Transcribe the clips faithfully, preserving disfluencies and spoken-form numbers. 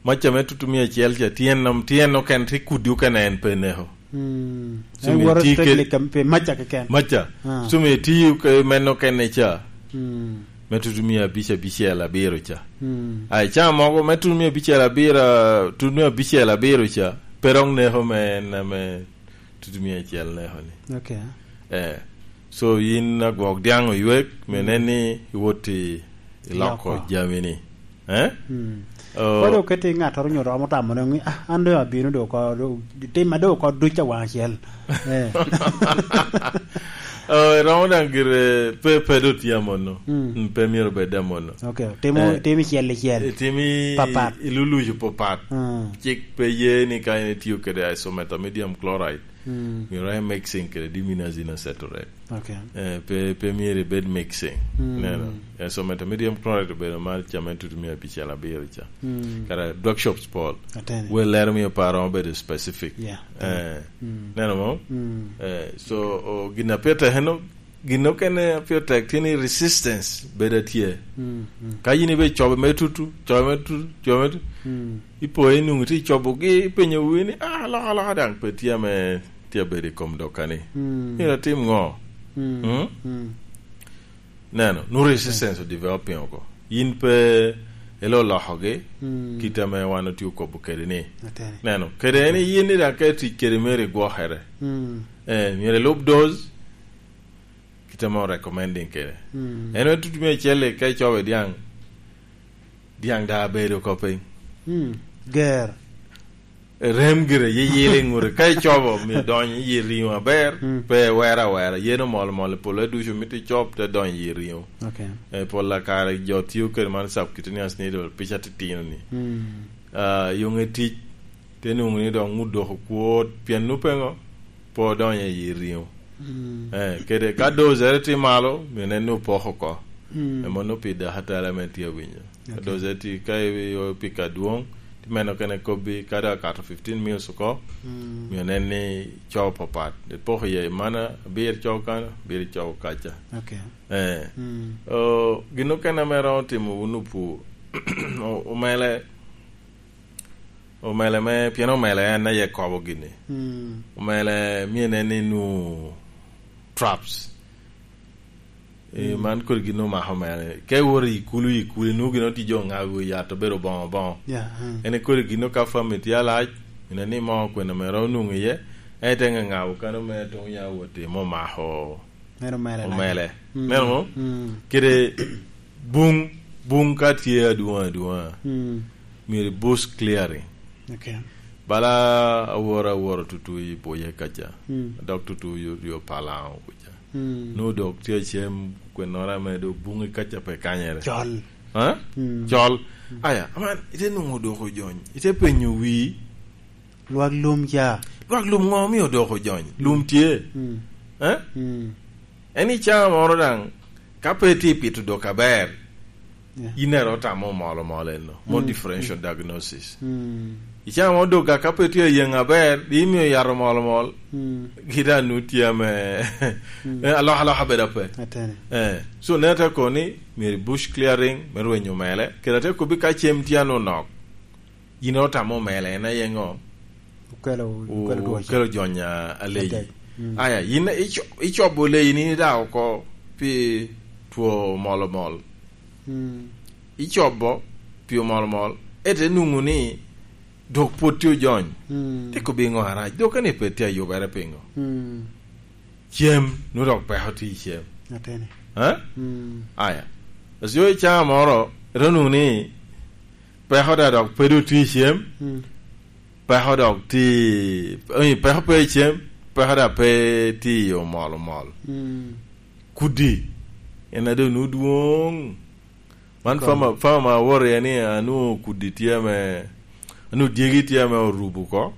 Maca me tutumia acel ca, tyen om-, tyen okene, tye kudi okene en pe neko. Mm. Cumi En woro ti ke- strictly kam-, pe maca keken. Maca. Ah. Cumi ti ke men okene ca. Mm. Me tutumia abic abicel abiro ca. Mm. Ai, ca mogo me tutumia abicel abiro, tutumia abicel abiro ca, pe dok neko me en ame tutumia acel neko ni. Okay. Eh. So, yin agwok diaŋ oywek, me Mm. nen ni iwot i, iloko Iloko. jami ni. Eh? Mm. Oh. Kodi oketi ŋattoro nyo romo tamo ne ŋi, "Ah, an doŋ abino doŋ oko, do-, timma doŋ oko duc awaŋ acel." Eh. Oh, iromo daŋ gire pe, pe do tye amono. Mm. Mm, pe myero bed amono. Okay, timo, Eh. timo icel icel. Eh, timi Papat. ilulucu papat. Mm. Cik pe ye ni ka in itiyo kede isometamidium chloride. Mm. Myero en mixing kede diminazine acetate. Okay. Eh, pe, pe myero ibed mixing. Mm. Neno. Eh, so methimedium chloride obedo mar came tutumia abicel abiro ca. Mm. Kara drug shops pol. Atene. Wel lero miyo paro obedo specific. Yeah. Eh. Mm. Neno mo? Mm. Eh, so, o, gin a pire tek eno, gin okene a pire tek tye ni resistance bedo atye. Mm, mm. Ka yin ibe cobo me tutu, cobo me tutu, cobo me tutu, Mm. ipo inwoŋo tye cobogi, ipenyo wi ni, "Ah, alokaloka daŋ pe tye ame tye abedo i kom dokani." Mm. Myero atim ŋo? Mm. Mm? Mm. Neno, nu resistance o developing oko. Yin pe ilo lokogi, Mm. kit ame wan otye okobo kede ni. Atene. Neno, kede en yin ni daŋ ka itic kede myero igwokere. Mm. Eh, myero ilub dose, kit ame o recommending kede. Mm. En en tutumia acel ka icobo i diaŋ, diaŋ da bedo oko piny. Mm. Ger. Rem gire, yeyil i ŋute. Ka icobo, myero donyo i riŋo aber, Mm. pe wera awera. Yen omol omol, pol ducu mito icob, te donyo i riŋo. Okay. Eh, pol a kare jo tiyo kede man subcutaneous needle, pica titino ni. Mm. Ah, yoŋe tic, te nwoŋo ni dok ŋut dok okwot, pien nu pe ŋo, pe odonyo i riŋo. Mm. Eh, kede ka dozere tye malo, myero nen ni opoko oko. Mm. Ema nongo pi dakatari ame tye awinyo. Ka Okay. dozere tye, ka i-, i-, piko adwoŋ, tye meno kene kobbi, ka dok akato fifteen mils oko, Mm. myero nen ni cobo papat. Ipoko iye, mana abiro cobo kano, abiro cobo kaca. Okay. Eh. Mm. O, gin okene ame romo timo wun opur, o-, omele, omele me, pien omele en aye kobo gini. Mm. Omele myero nen ni nu traps. E, Mm. man kodi gin omako omele. Ka iwoto i kulu, i kulu, inwoŋo gin otye jo ŋago i yat obedo boŋo boŋo. Yeah, mm. En kodi gin ka family tye alac, ine ni mo kwena mere onwoŋo iye, en ite ŋaŋabo kano mere tuŋ ya wot i mo mako Meno omele. Omele. Mm. Neno mo? Mm. Kede buŋ, buŋ ka tye adwoŋ adwoŋa, Mm. myero i bush clearing. Okay. Bala aworo aworo tutu i Buye kaca. Mm. Dok tutu yo, yo Palaŋo kuca. Mm. Nu dok tye acem kwennoro ame do buŋi kaca pe kanyere. Col. Ha? Mm. Col. Mm. Aya, aman, ite nwoŋo doko jony. Ite penyo wi. Lwak lum ca. Lwak lum ŋo omio odoko jony? Lum tye. Mm. Eh? Mm. En i caa moro daŋ, ka pe itye pito dok aber, Yeah. yin ero otamo molo molo eno. Mo Mm. differential Mm. diagnosis. Mm. I caa moro dok ka pe itye ayeŋ aber, di imio yat omol omol, Mm. gita nu tye ame, Mm. eh, alok alok abedo ape. Atene. Eh, so ne ate koni, myero bush clearing, me rwenyo mele. Kede ate kobi ka cem tye anu nok. Yin otamo mele, en aye ŋo? Okelo, okelo dwoca. Okelo jony a, aleyi. Adek. Mm. Aya, yin ico-, icobo leyi ni da oko pi two mol omol. Mm. Icobo pi omol omol. Ete nwoŋo ni dok pwod tye ojony. Mm. Te kobi ŋo arac? Dok eni pe tye ayubere piŋo? Mm. Cem, nu dok peko tye i cem. Atene. Ha? Mm. Aya. Asio i caa moro, ete nwoŋo ni peko da dok pe do tye i cem, Mm. peko dok tye, I mean, peko pe i cem, peko da pe tye i omol omol. Mm. Kudi, en a doŋ nu dwoŋ. Man Kong. Fama, fama ma awor iye ni anu kudi tye ame, anu dyegi tye ame orubo oko,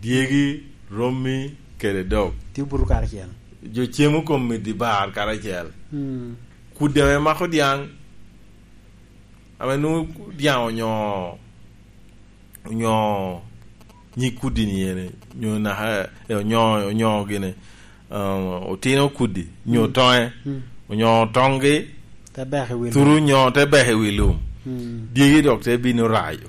dyegi, rommi, kede dog. Tye buto karacel. Jo cemo kom i di bar karacel. Mm. Kudi ame mako dyaŋ, ame nwoŋo dyaŋ onyo, onyo nyig kudi ni ene, nyo naka, eh, onyo, onyo gine, um, otino kudi, nyo Mm. toŋe, Mm. onyo toŋgi, Te beko i wi lum. Turu nyo te beko i wi lum. Mm. Dyegi dok te bino rayo.